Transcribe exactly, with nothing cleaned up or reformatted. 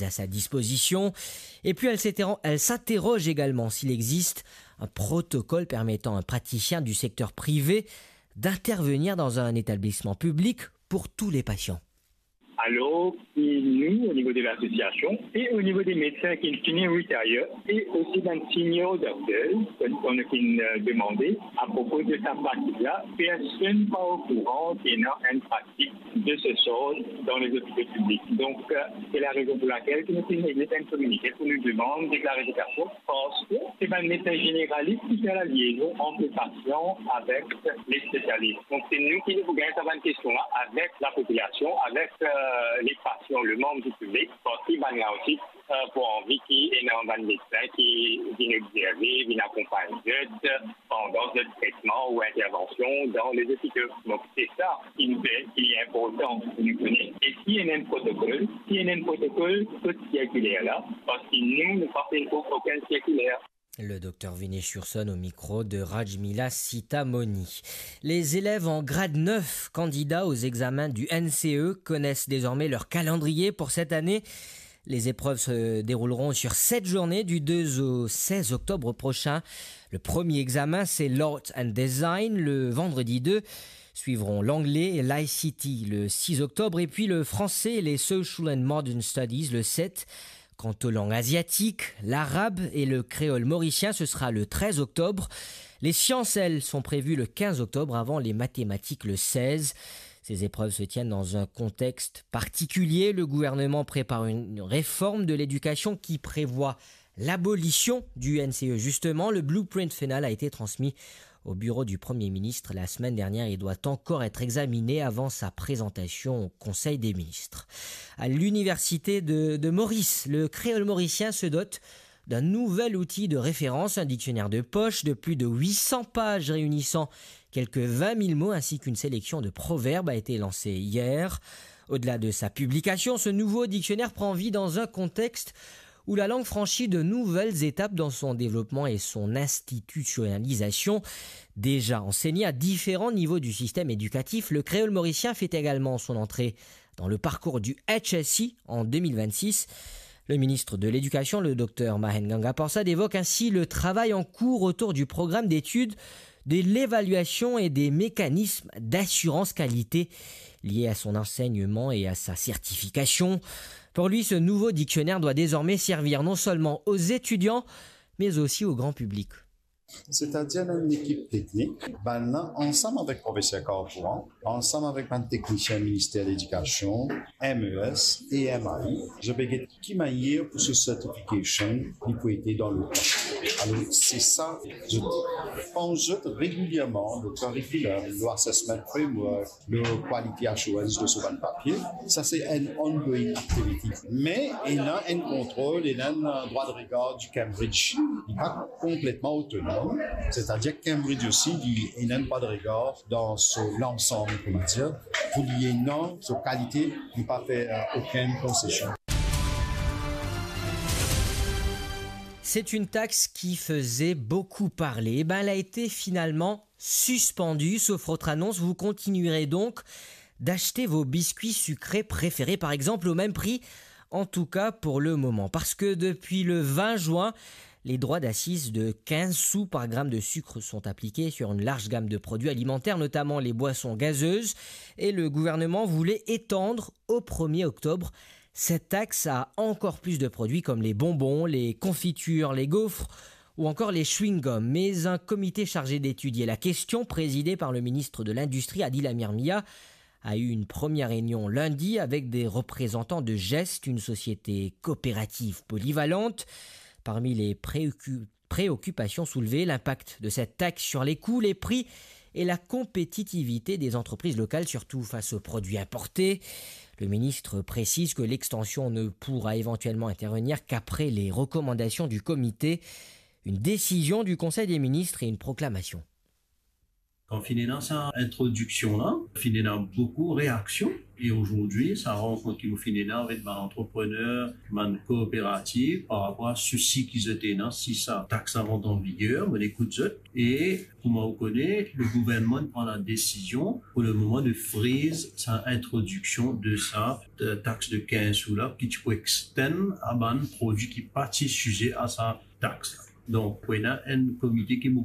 à sa disposition. Et puis, elle s'interro-, elle s'interroge également s'il existe un protocole permettant à un praticien du secteur privé d'intervenir dans un établissement public pour tous les patients. Alors, nou, o nivo de lasosiasion e o nivo de medsin ki fini retire e osi bann senior dokter, ki, ki finn, euh, demande apropo de sa pratik la, personn pa okouran ki ena enn pratik de se sort dan lezopito piblik. Donk, euh, se la rezon pou lakel ki nou finn egzit enn kominike pou nou demann de klarifikasion, parski se bann medsin zeneralis ki fer la liezon ant le pasian avek le spesialis. Donk, se nou ki nou pou gagn sa bann kestion la avek lapopilasion, avek, euh, le pasian, le manm di piblik, parski bann la osi, euh, pou anvi ki ena bann medsin ki vinn obzerve, vinn akonpagn zot pandan zot tretman ou intervansion dan lezopito. Donk, se sa ki nou pe, ki inportan pou nou kone. E si ena enn protokol, si ena enn protokol kot sirkiler la, parski nou, nou pa finn trouv okenn sirkiler. Le docteur Vinesh Hurson au micro de Rajmila Sitamoni. Les élèves en grade neuf, candidats aux examens du N C E, connaissent désormais leur calendrier pour cette année. Les épreuves se dérouleront sur sept journées, du deux au seize octobre prochain. Le premier examen, c'est l'Art and Design, le vendredi deux. Suivront l'anglais et l'I C T le six octobre, et puis le français et les Social and Modern Studies le sept. Quant aux langues asiatiques, l'arabe et le créole mauricien, ce sera le treize octobre. Les sciences, elles, sont prévues le quinze octobre avant les mathématiques le seize. Ces épreuves se tiennent dans un contexte particulier. Le gouvernement prépare une réforme de l'éducation qui prévoit l'abolition du N C E. Justement, le blueprint final a été transmis au bureau du Premier ministre la semaine dernière et doit encore être examiné avant sa présentation au Conseil des ministres. À l'Université de, de Maurice, le créole mauricien se dote d'un nouvel outil de référence, un dictionnaire de poche de plus de huit cents pages réunissant quelques vingt mille mots ainsi qu'une sélection de proverbes a été lancée hier. Au-delà de sa publication, ce nouveau dictionnaire prend vie dans un contexte où la langue franchit de nouvelles étapes dans son développement et son institutionnalisation. Déjà enseigné à différents niveaux du système éducatif, le créole mauricien fait également son entrée dans le parcours du H S C en deux mille vingt-six. Le ministre de l'Éducation, le docteur Mahen Ganga Persad, évoque ainsi le travail en cours autour du programme d'études de l'évaluation et des mécanismes d'assurance qualité liés à son enseignement et à sa certification. Pour lui, ce nouveau dictionnaire doit désormais servir non seulement aux étudiants, mais aussi au grand public. Setadir, nou ena enn ekip teknik, bannla ansam avek profeser Carpooran, ansam avek bann teknisien Minister Ledikasion, M E S e M I, zot pe get ki manier pou so certification li pou ete dan letan. Alor, se sa, zot pans zot regilierman lor curriculum, lor assessment framework, lor quality assurance de so bann papie. Sa se enn ongoing activity. Me ena enn kontrol, ena enn, euh, drwa de regar di Cambridge. Li pa konpletman otonom, setadir Cambridge osi, li ena enn drwa de regar dan so lansam, kouma dir, pou li ena so kalite, li pa fer, euh, okenn konsesion. C'est une taxe qui faisait beaucoup parler. Eh ben, elle a été finalement suspendue. Sauf autre annonce, vous continuerez donc d'acheter vos biscuits sucrés préférés, par exemple, au même prix, en tout cas pour le moment. Parce que depuis le vingt juin, les droits d'assises de quinze sous par gramme de sucre sont appliqués sur une large gamme de produits alimentaires, notamment les boissons gazeuses, et le gouvernement voulait étendre au premier octobre cette taxe à encore plus de produits comme les bonbons, les confitures, les gaufres ou encore les chewing-gums. Mais un comité chargé d'étudier la question, présidé par le ministre de l'Industrie, Adil Amirmia, a eu une première réunion lundi avec des représentants de Gest, une société coopérative polyvalente. Parmi les préoccu-, préoccupations soulevées, l'impact de cette taxe sur les coûts, les prix et la compétitivité des entreprises locales, surtout face aux produits importés. Le ministre précise que l'extension ne pourra éventuellement intervenir qu'après les recommandations du comité, une décision du Conseil des ministres et une proclamation. Kan finn ena sa introdiksion la, finn ena boukou reaksion. E azordi, sa rankont ki mo finn ena avek bann antreprener, bann kooperativ, par rapor a sousi ki zot ena si sa tax la rant an viger, mo ekout zot. E kouma ou kone, le gouvernman pran la desizion pou le moman de friz sa introdiksion de sa, de tax de kinz sou la, ki ti pou extend a bann prodwi ki pa ti size a sa tax la. Donk, pou ena enn komite ki mo